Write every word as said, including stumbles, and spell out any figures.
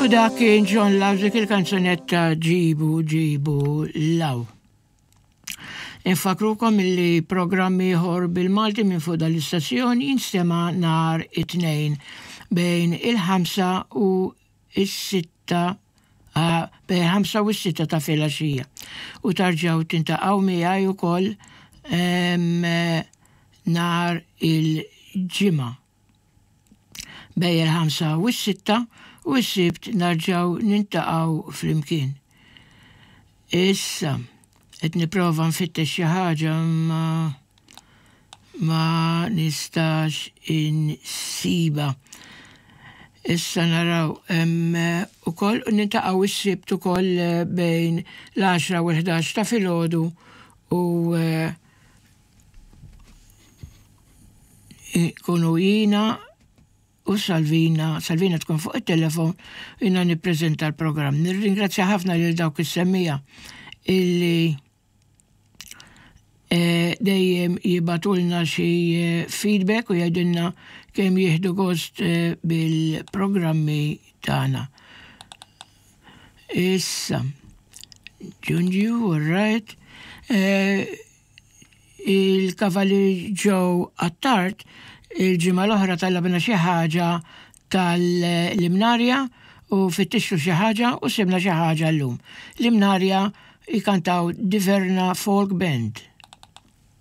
U dak kien John Lawzik, il-kanzunetta Ġibu Ġibu Law. Infakrukom illi programm ieħor bil-Malti minn fuq dal-istazzjon jinstema' nhar it-Tnejn bejn il-ħamsa u s-sitta, bejn ħamsa u s-sitta ta' filgħaxija. U terġgħu tiltaqgħu miegħi ukoll nhar il-Ġimgħa bejn il-ħamsa u s-sitta u s-Sibt nerġgħu niltaqgħu flimkien. Issa, qed nipprova nfittex xi ħaġa, ma ma nistax insiba. Issa naraw ukoll niltaqgħu s-Sibt ukoll bejn l-għaxra u l-ħdax ta' filgħodu u kunu jiena u Salvina, Salvina tkun fuq il-telefon, jiena nippreżenta l-programm. Nirringrazzja ħafna lil dawk is-semmiegħa illi dejjem jibagħtulna xi feedback u jgħidilna kemm jieħdu gost bil-programmi tagħna. Issa, Ġunju, all right. Il-Kavalier Joe Attard il-ġimgħa l-oħra talabna xi ħaġa tal-Imnarja u fittixtu xi ħaġa u sibna xi ħaġa llum. L-Imnarja jkantaw Diverna Folk Band.